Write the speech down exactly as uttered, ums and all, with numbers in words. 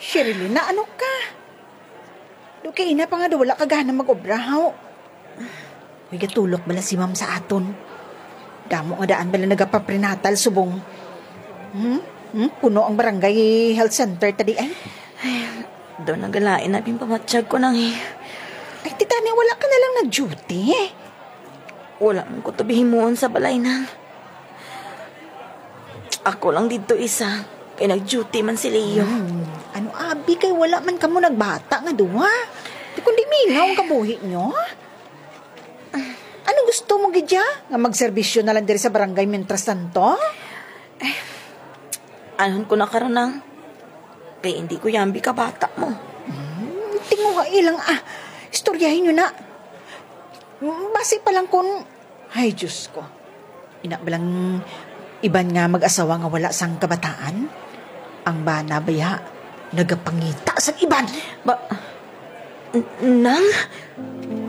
Sherilyn, na ano ka? Do kay ina pa nga do wala ka gana mag-obra, haw? Uy, gatulok bala si ma'am sa aton. Damo nga daan bala nagapaprenatal subong. Hmm? Hmm? Puno ang barangay health center ta di ay. Do nagalain na ginpamatsyag ko nang eh. Ay, titani, wala ka na lang nag-duty. Wala man ko to bihimuon sa balay, nang. Ako lang dito isa, kay nag-duty man si Leo. Hmm, ano abi kay wala man kamo nagbata nga duha? Di kundi mingaw ang kabuhi nyo, ha? Ano gusto mo gidya? Nga magserbisyo na lang diri sa barangay mientras tanto? Anhon ko na karon, nang? Kay hindi ko yambi ka bata mo. Hmm, tinguha ilang ah. Istoryahin nyo na. Basi pa lang kun... Ay, Diyos ko. Ina ba lang iban nga mag-asawa nga wala sang kabataan? Ang bana baya, nagapangita sang iban. Ba, n- nang?